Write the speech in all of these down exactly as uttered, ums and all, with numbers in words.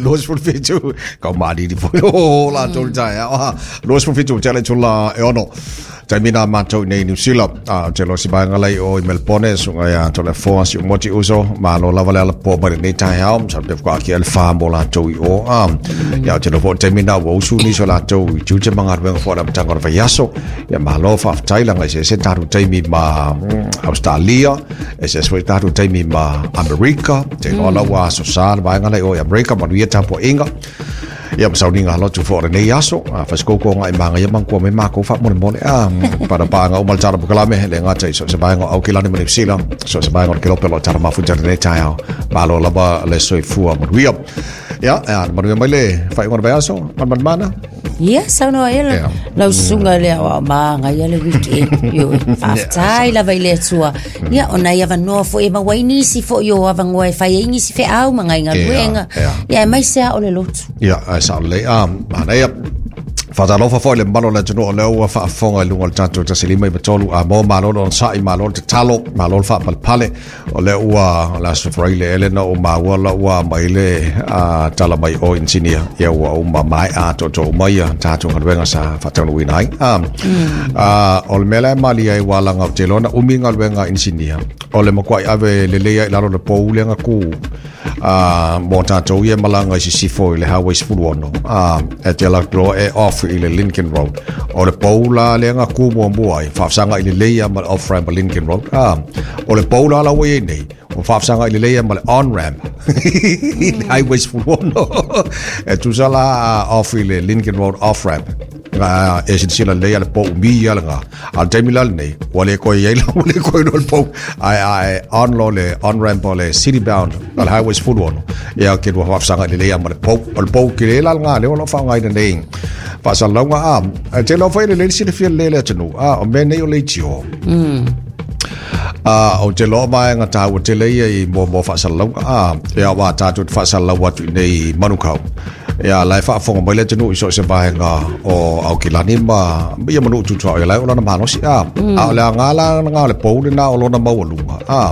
Luas fulfitu kau mali di foi o la tolu taeao luas fulfitu tele tula e ono taimi na matou nei Niu Sila a te lo si vaega lai o i Melbourne suga ia tole foa si umoti uso malo lava le ala po mai lenei taeao sa pe kwa ki le fa mo latou i o a ia te lo fo taimi na ua usu ni so latou i tiute ma galuega fo le amataga o le vaiaso ia malo faafetai laga i se tatou taimi ma Australia e se foi tatou taimi ma Amerika te loa la ua aso sa le vaega lai o i Amerika manuia tapuaiga ia masauniga lotu fo o lenei aso a fasikoukou agai magaia magua mai makou faamolemole a panapaga uma le tala pokalame le gata i so se vaega o Aukilani ma Niusila so se vaega o le kelope o lo tala mafuta lenei taeao malo lava le soifua manuia ia a manuia mai le faaiuga o le vaiaso manmanmana. Ia, saunoa ia Yeah. lau susuga le aoao magaia le weekend. Ioe, faafetai lava i le Atua. Ia, ona i avanoa foi e maua ai nisi foi o avanoa e fai ai nisi feau ma nai galuega. Yeah, Ia, e mai se ao le lotu. Ia, ae sao lelei. A, manaia. Faatalofa foi le mamalu o le atunuu o lea ua faafofoga i luga o le tatou tasi lima iva tolu a mo malo le onosai malo le tatalo malo le faapalepale o lea ua o le aso Faraile ele na o maua la ua mai le a, tala mai o insinia ia ua uma mae'a atoatoa uma ia tatou galuega sa faataunuuina ai a, a, o le mea la e malia ai ua laga o te iloa na umi galuega a insinia o le matua'i ave lelei ai i lalo le pou lea ku a mo tatou ia malaga i sisifo i le highway sefulu ono a e te ala loa e off i le Lincoln Road o le pou la lea na ku muamua ai faafesagai lelei ma le off ramp o Lincoln Road a o le pou la la ua iai nei ua faafesagai lelei ma le on ramp i le highway sefulu ono e tusa la off i le Lincoln Road off ramp ga e silasila lelei a le pou umi ia lega a le taimi la lenei ua le koe iai la ua le koe loa le pou ae ae on lo le on ramp o le city bound o le highway sefulu ono ia ke lua faafesagai lelei ma le pou o le pou kele la lega lea o loo faaaogaina nei faasalalauga a e te loa foi lelei le silafia lelei le atunuu a o mea nei o leitio a o te loa vaega taua tele ia i muamua faasalalauga a ia ua tatou te faasalalau atu i nei Manukau ia la e faafofoga mai le atunuu i so o se vaega o Aukilani ma ia manuu tutuao ia lae o lona malosi a a o le aga la lena o le pou lena o lona maualuga a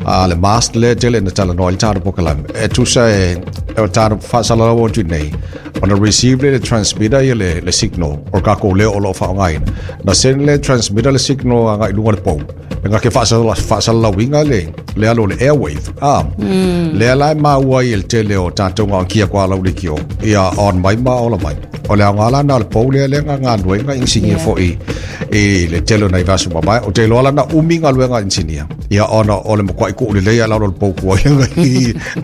a le mast le tele na talanoa i le tatou pokalame e tusa e o tatou faasalalau atu i nei ona receive le le transmitter ia le, le signal o kākou leo o loo faaaogaina na send le transmitter le signal agai i luga le pou e ngake faasalalauina le le alo o le airwave a lea la e maua ai e le tele o tatou gaokia koa lau leitio ia on mai ma ola mai o le aoga la na o le pou lea lea galuega inisinia Yeah. foi i le tele o nai vaiaso mamae o te iloa lana umi galuega inisinia ia ona o le matua'i kuu lelei a lalo le pou kuai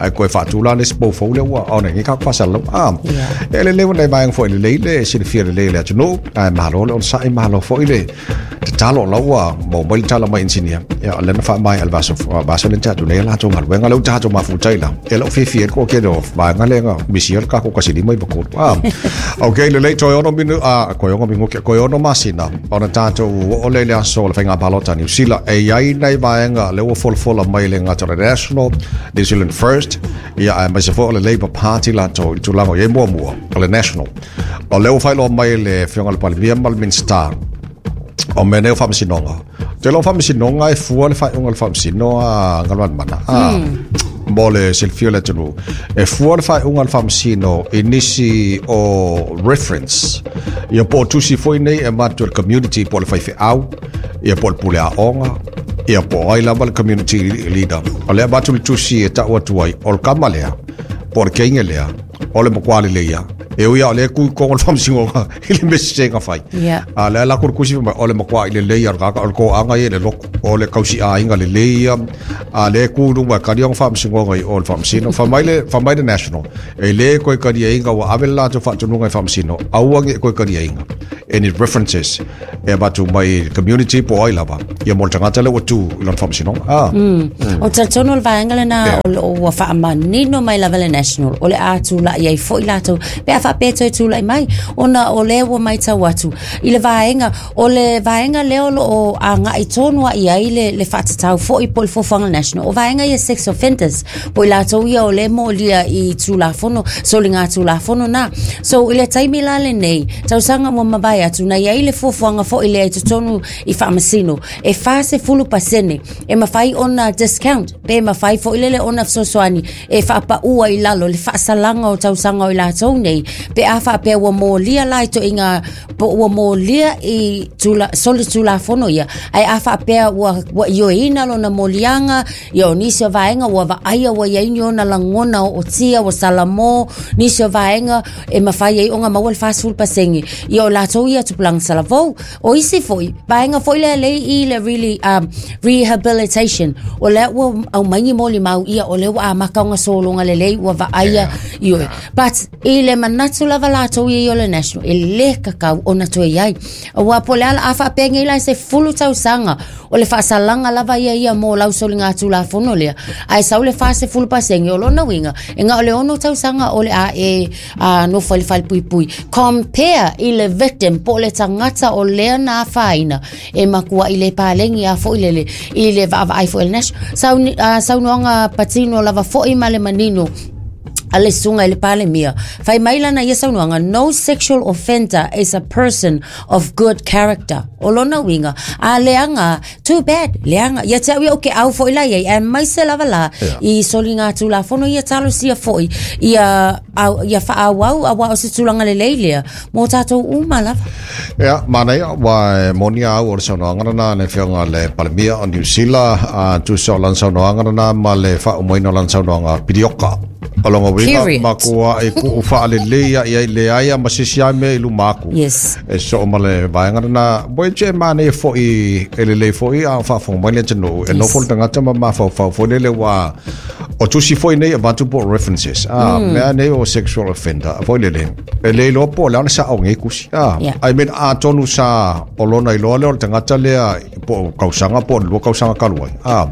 ai koe faatula le isi pou fou lea ua ona ngi ka faasalalau a Yeah. e lelei ua nai vaega foi lelei le silafia lelei le atunuu ae malo le onosa'i malo foi le tatalo la ua maua mai le tala mai inisinia ia o lena faamaea le vaiaso vaiaso le tatou nei latou galuega lea ua tatou mafutai la e lou fiafia ai le toatele o vaega lea na misia le tatou tasi lima iva tolu a ok lelei toe ono minu a koe ono minuti koe ono masina ona tatou oo le le aso o le faiga palota Niu Sila e iai nai vaega lea ua folafola mai le gata o le National New Zealand First ia aemaise foi o le Labour Party latou i le tulaga o iai muamua o le National o lea ua faailoa mai le afioga le Palemia ma le Minista o mea nei o faamasinoga te loo faamasinoga e fua le faaiuga o le faamasino a galuanmana a mo le silafia o le atunuu e fua le faaiuga o le faamasino i nisi o reference ia po o tusi foi nei e matu e le community po o le faifeau ia po o le pule aoga ia po o ai lava le community leader o lea avatu le tusi e tau atu ai o le kama lea po o le keiga lea o le makuā lelei ia e ui a o lea kui kogo le faamasinoga i le mesesega fai Yeah. a lea la ku le kusi mai o le makuā i lelei ia le kaka o le koaga ia le loko o le kausiaiga lelei ia a lea ku luma e kali ona faamasinoga i o le faamasino faamai le faamai le National e lē koe kaliaiga ua ave le latou faatunuga i faamasino aua ge koe kaliaiga any references e avatu mai i le community po o ai lava ia mo le tagata lea ua tu i lona faamasinoga a O talitonu le vaega lena Yeah. o lo ua faamanino mai lava le National o le a tula'i ai fo'i latou pe a faapea toe tulai mai ona o lea ua matau atu i le vaega o le vaega lea o loo agai tonu ai i ai le, le faatatau fo'i po o le fuafuaga national o vaega ia sex offenders po i latou ia o lea molia i tulafono soliga tulafono na. So i le taimi la lenei tausaga ua mavae atu na iai le fuafuaga fo'i lea i totonu i faamasino e fasefulu pasene e mafai ona discount pe mafai fo'i lele ona fesoasoani e faapaua i lalo le faasalaga o tausaga o i latou nei pe a faapea ua molia la i toiga po ua molia i tula, soli tulafono ia ae a faapea ua, ua ioeina lona moliaga ia o nisi o vaega ua vaaia ua iai ni ona lagona o otia ua salamo nisi o vaega e mafai ai ona maua le fasefulu pasene ia o latou ia tupulaga talavou o isi foi vaega foi lea lei i le really um, rehabilitation o lea ua aumai ni molimau ia o lea ua amata ona sologa lelei ua vaaia Yeah. ioe but i le manatu lava latou ia i o le national e lē kakau ona toe iai aua po o le ala a faapea nei la se fulu tausaga o le faasalaga lava ia ia mo lau soliga tulafono lea ae sau le fasefulu pasene o lona uiga e na o le ono tausaga o le a e a nofo i le falepuipui compare i le victim po o le tagata o lea na afaina e makua'i le palegi a fo'i lele i le vaavaai fo'i le national Sauni, uh, saunoaga patino lava fo'i ma le manino a le susuga i le palemia fai mai lana ia saunoaga no sexual offender is a person of good character o lona uiga a leaga too bad leaga ia te au ia o ke au fo'i la iai ae maise lava la Yeah. i soliga tulafono ia talosia fo'i ia au, ia faaauau auā o se tulaga lelei lea mo tatou uma lava. Ia, manaia, ua e moni au o le saunoaga lena le afioga le Palemia o Niu Sila, a tusa o lana saunoaga lena ma le faaumaina o lana saunoaga pilioka. O longa uiga Period. makua e kuu faalelei ia i leai ma sisi ai mea i luma aku. Yes. E so ma le vaega lena, boe che manaia fo'i e lelei fo'i a o faafofoga mai le atunuu. E nofo le tagata ma mafaufau foi lele ua o tusi foi nei avatu po o references. Ah, mea nei o sexual offender. Foi lele. E le iloa po o le ana sa o ngei kusi. Ah, Yeah. I mean, a tonu sa o lona iloa lea o le tagata lea po o kausaga po o le lua kausaga talu ai. Ah,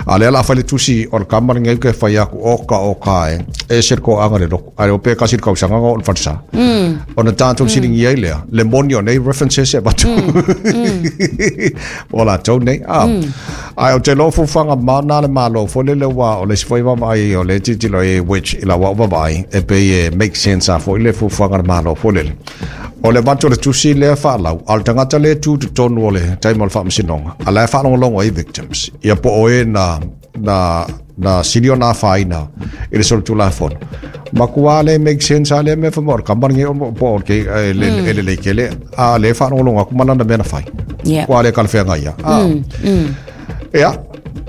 a lea la fai le tusi o le kama lenei ke fai aku o ka o ka e. E se ko anga le loko. Ai o pe kasi le kausaga o le falsa. Ona tātou silingi ai lea. Le moni o nei references e avatu. O latou nei. Ah, ai o te lo fuafuaga mana le malo foi lele ua o le isi foi vaavaai o le tilotilo e which i lau au vaavaai e pei e make sense a foi le fuafuaga le malo foi lele. O le avatu o le tusi lea faalau, a o le tagata lea tu totonu o le taimi o le faamasinoga, a la e faalogologo ai victims. Ia po o e na, na, na sili ona afaina i le solitulafono. Makua le make sense a le mea whamua, o le kama lenei o po o le ke- e le e lelei kele, a le faalogologo atu ma lana mea na fai. Yeah. Kua le kalafeaga ia. Ah. Ia,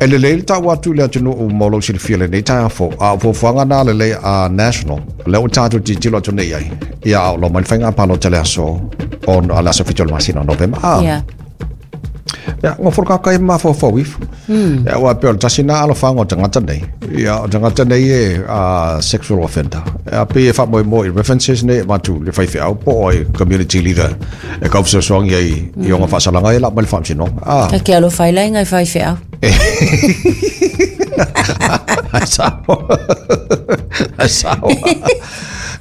e lelei le tau atu i le atunuu mo lou silafia lenei taeao fou. A o fuafuaga na lelei a national, lea ua tatou tilotilo atu nei ai. Ia, a o lo mai le faiga palota le aso, o a le aso fitu o le masina o Novema. Ah, Yeah. Ia, ngā whoro kākai mawhawhau ifo. Ia, ua peo le tasi nā alofaga o tagata nei. Ia, o tagata nei e uh, sexual offender. Ia, pe e whamoe mo i references nei, matu le whaiwheau po o e community leader e kauwhasosoangi ai i onga whaasalanga e la mai le whaamsinoga. Ah, Ta ke alofa i lainga i faifeau. Ai sao. Ai sao.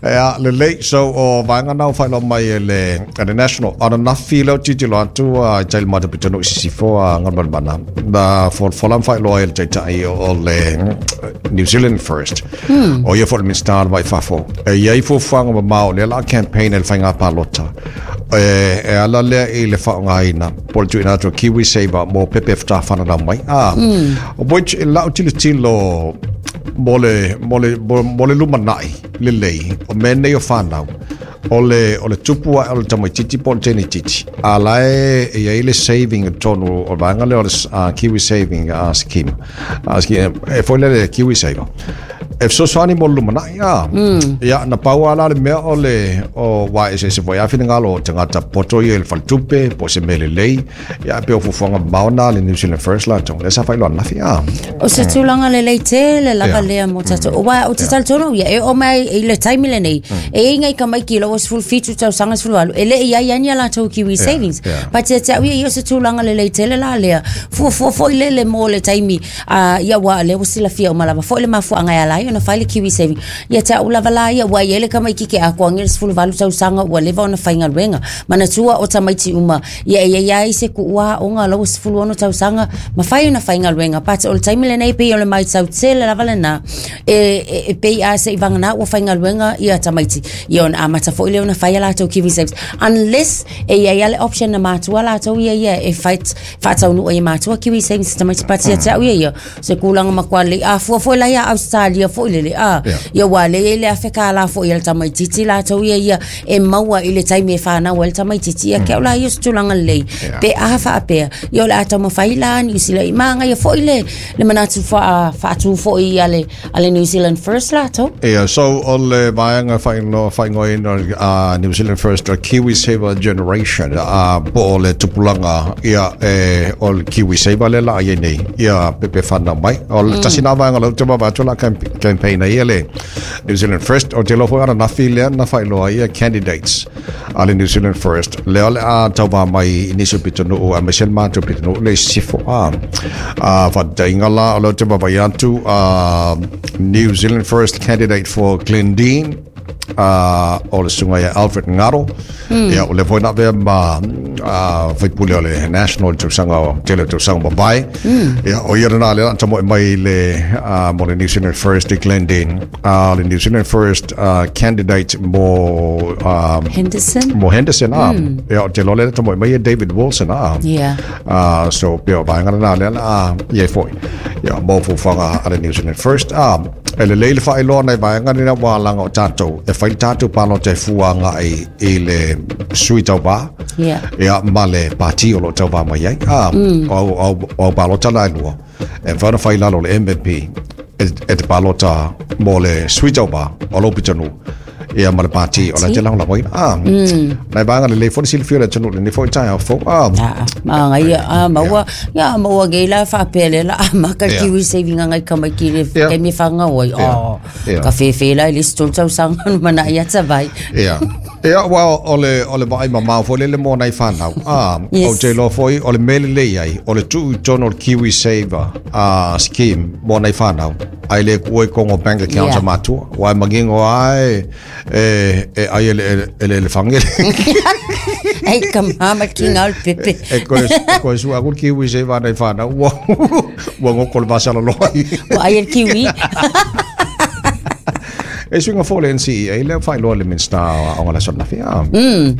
Ia, lelei, so o vaega na o whailo mai e le, e le national, ana nafi leo tilotilo atu a i taile mai te pitonu i sisifo a Galumalemana. Na folafola ma faailoa ai le taitai o le New Zealand First. O ia foi le Minista o le Vai Fafo. E iai fuafuaga mamao lea la campaign e le faiga palota. E, e ala lea i le faaaogaina po o le tuuina atu o Kiwi Saver mo pepe e fatafananau mai. Ah, which e lau tilotilo mo le, mo le, mo, mo le lumanai lelei o mea nei o whanau o le, o le tupu a o le tamaititi po o le tenetiti a la e e iai le saving i totonu o le vaega lea o le uh, Kiwi Saving uh, Scheme uh, scheme e foi lea le Kiwi Saver e fesoasoani mo le lumanai a ia na pau a la le mea o le o wa e se se foi a finagalo o tagata poto ia i le faletupe po o se mea lelei ia pe o fuafuaga mamao na le New Zealand First latou lea sa faailoa ananafi a O se tulaga lelei tele lava Yeah. lea mo tatou. Ua o te talitonu ia e oo mai i le taimi lenei. E i ngai tamaiti i loo sefulu fitu tausaga sefulu valu. E le'i ai ani a latou Kiwi Savings. yeah. But ia te au ia ia o se tulaga lelei tele la lea. Fuafua fo'i lele mo le taimi uh, ia ua lea ua silafia uma lava fo'i le mafuaaga e ala ai mafai ona fai le Kiwi Saving. Ia te au lava la ia ua i ele tamaititi ke atoa le sefulu valu tausaga ua leva ona faigaluega. Manatua o tamaiti uma ia e iai ai se kuua aoga lau sefulu ono tausaga mafai ona faigaluega. But o le taimi lenei pei o le matau tele lava lena e, e, e pei a se i vagana ua faigaluega ia tamaiti ia ona amata foi lea ona fai a latou Kiwi Savings, unless e iai a le option na matua latou ia ia e fight faataunuu i matua Kiwi Savings tamaiti. But ia te au ia ia se kulaga matua lelei a fua foi la ia Australia foi lele a Yeah. ia ua le le afe kala foi ia le tamaititi latou ia ia e maua i le taimi e whanau ai le tamaititi ia ke au la ia se tulaga lelei Yeah. pe a faapea ia o le a taumafai la New Zealand i maga ia foi le le manatu faa faatu foi a le a le New Zealand First latou. Ia, so o le vaega faaigoa faaigoaina uh, New Zealand First uh, Kiwi Saver Generation, uh, po o le tupulaga ia e o le Kiwi Saver le la ia nei ia pepe whanau mai. O le tasi nā vaega lau te wawa atu la campaign ia le New Zealand First o te lofo ana nafi lea na whailoa ia candidates a le New Zealand First lea o le a tauva mai i nisi o pitonuu a maise le mātou pitonuu le sifo a a whatainga la o lau te wawa atu uh, New Zealand First candidate for Glendene uh, o le sunga ia Alfred Ngaro mm. Ia o le foi na vea ma uh, faipule o le National tausaga o tele o tausaga mavae mm. Ia o ia rena le anta mo mai le uh, mo le New Zealand First i Glendene uh, le New Zealand First uh, candidate mo um, Henderson mo Henderson ah mm. Ia o te lole ta mo mai ia David Wilson ah Yeah. uh, so pia vaega na le ah ia foi ia mo fuafuaga a le New Zealand First ah e le leile faailoa nai vaega ni na wālanga o tātou e whai tātou pāno te fuanga i, i le sui tau vā Yeah. ia ma le pāti o lo tau vā mai ai ah, mm. o, o, o palota lai lua e whaona whai lalo le M P e, e te palota mo le sui tau vā o lo pitanu ia ma le pāti o la te lango la waina ah, nai vaega le lei fo le silafia le tanu le ni fo i tai au fo ah, Ah, maga ia a maua ia maua ge la faapele la maka Yeah. Kiwi Saving ngai tamaiti le Yeah. taimi e fagau ai Yeah. oh Yeah. ka fefe la i le isi tolu tausaga no manaʻi ata vai. Ia. Ia, well, o le, o le vaai mamao foi lele mo nai whanau. Ah, Yes. o te loa foi, o le mele lei ai, o le tuu i tonu o le Kiwi Saver uh, scheme mo nai whanau. Ai le kue kongo bank account Yeah. a matua. Wai mangingo ai, e, e, ai ele, ele, ele, ele whangele. Ai ka mama ki ngā o le pepe. E koe, e koe sua aku le Kiwi Saver nai whanau. Ua, ua ngoko le vasala loa. Ua ai le kiwi. E suinga fo le N C E A, lea whailoa le Minista o ngala sona fia. Mm.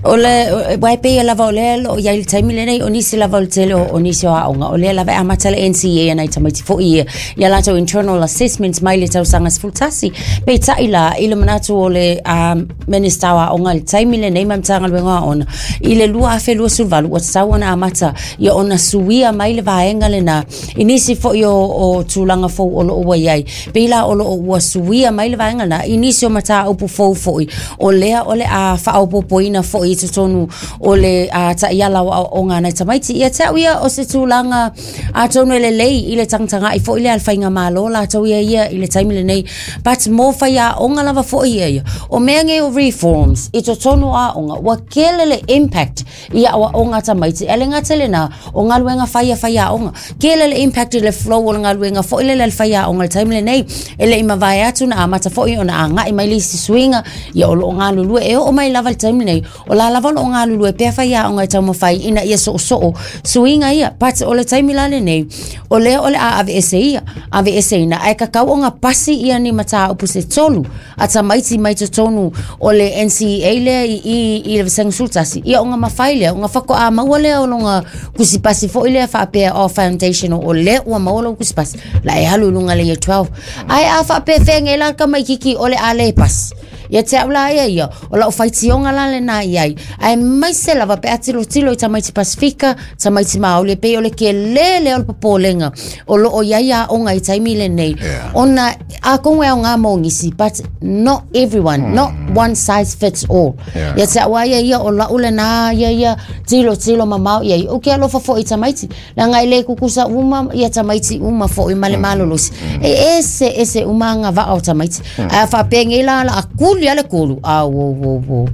O le, wai pei lava o lea lo ia i le taimi lenei, o nisi lava o le tele o, o nisi o aoga. O lea lava e amata le N C E A nai tamaiti foi ia, ia latou internal assessments mai le tausaga sefulu tasi. Peitai la, i le manatu o le um, Minista o aoga i le taimi lenei ma Matagaluega o Aoga, i le lua afe lua sefulu valu, ua tatau ona amata ia ona suia mai le vaega lena. I nisi foi o, o tulaga fou o loo ua iai. Pei la o loo ua suia mai le vaega na i nisi o mataupu fou foi o lea o le a faaopopoina foi i totonu o le a taiala o aoaoga nai tamaiti ia te au ia o se tulaga atonu e lelei i le tagatagai foi lea a le faigamalo latou ia ia i le taimi lenei. But mo faiaoga lava foi ia ia o mea nei o reforms i totonu o aoga ua kele le impact i aoaoga tamaiti e le gata lena o galuega fai a faiaoga kele le impact i le flow o le galuega foi lele a le faiaoga i le taimi lenei e le i mavae atu na amata foi ona agaʻi mai le isi suiga ia o loo galulue e oo mai lava le taimi nei o la lava o loo galulue pea faiaoga e taumafai ina ia soosoo suiga ia. But o le taimi la lenei o lea o le a aveese ia aveeseina ae kakau oga pasi ia ni mataupu se tolu a tamaiti mai totonu o le N C E A lea i, i, i le vasega sulutasi ia oga mafai lea oga fakoa maua lea o loga kusipasi foi lea faapea o foundation o lea ua maua lou kusipasi la e alu i luga le year twelve ae a faapea fega la tamaititi o le a le pasi ia te au la ia ia o lau faitioga la lena iai ae maise lava pe a tilotilo i tamaiti Pasifika tamaiti Māori e pei o le kelē lea o le popolega o loo iai aoga i taimi lenei Yeah. ona atonu e aogā mo nisi but not everyone mm. not one size fits all. Yeah. Ia te au a ia ia o lau lena ia ia tilotilo mamao iai o ke alofa foi i tamaiti leaga e lē kukusa uma ia tamaiti uma foi ma le malolosi e ese ese uma agavaa o tamaiti ae faapegei la la akuli a le kolu a wo wo wo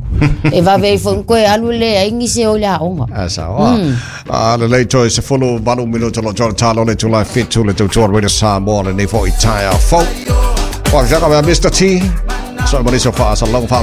e vave i foi koe alu le ai nisi o le aoga. A sa o. A le lei toi se fulu valu minuta lo tolo talo le tulai fitu le tautua roida Samoa le nei foi tai au fou. Wa fiaga mea Mister T. So ma nisi o faasalauga.